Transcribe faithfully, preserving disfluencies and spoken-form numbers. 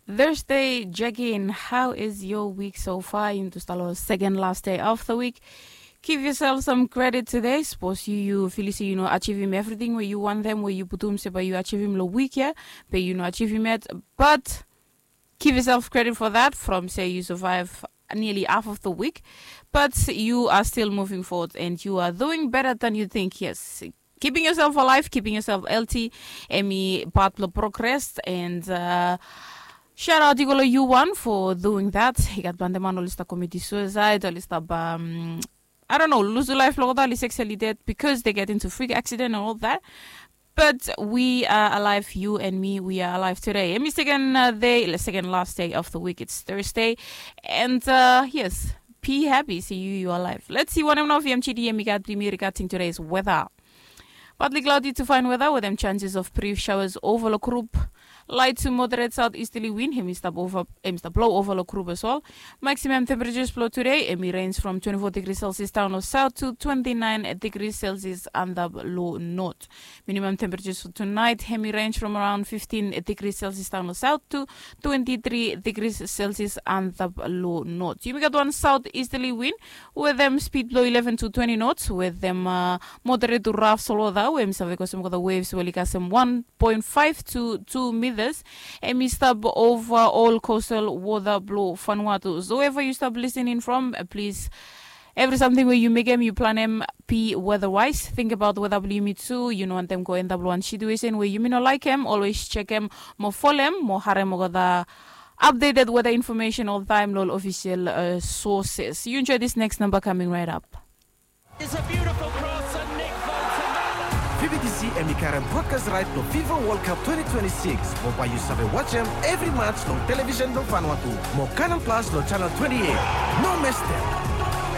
Thursday check-in. How is your week so far? Yumi tu stap long second last day of the week. Give yourself some credit today. Sapos yu yu filim se yu no ajivim evriting we yu wantem we yu putum se bae yu ajivim long wik ya, be yu no ajivim yet. But give yourself credit for that from se yu survive nearly half of the week. But you are still moving forward and you are doing better than you think. Yes, keeping yourself alive, keeping yourself healthy, hemi pat blong progress and uh, shout out i go long yu wan for doing that. I gat plante man oli stap commit suicide, oli stap um, I don't know, luzu laef blong olgeta, oli sexually dead because they get into freak accident and all that. But we are alive, you and me, we are alive today. Hemi second uh, day, second last day of the week. It's Thursday. And uh, yes, be happy se yu yu alive. Let's see wanem nao V M G D hemi gat blong yumi regarding today's weather. Partly cloudy to fine weather with them chances of brief showers over long group. Light to moderate southeasterly wind hemi stap ova, hemi stap blow ova long group as well. Maximum temperatures blong today hemi range from twenty-four degrees Celsius down long south to twenty-nine degrees Celsius antap long north. Minimum temperatures for tonight hemi range from around fifteen degrees Celsius down long south to twenty-three degrees Celsius antap long north. Yumi gat wan southeasterly wind with them speed blong eleven to twenty knots with them uh, moderate to rough swell weather we hemi save kosem olgeta waves we oli kasem one point five to two meters. Hemi stap ova ol coastal wota blong Vanuatu. So wherever yu stap listening from, uh, please, evri samting we yu mekem, yu planem, be weather wise. Think about weather blong yumi tu. Yu no wantem go end up long wan situation we yumi no laekem. Always jekem mo folem mo harem olgeta updated weather information oltaem long ol official uh, sources. Yu enjoy this next number coming right up. It's a beautiful cross and Nick Bolton. V B T C hemi karem broadcast right blong FIFA World Cup twenty twenty-six. Mo bae yu save wajem evri match long television blong Vanuatu. Mo Canal Plus long channel twenty-eight. No mes dem.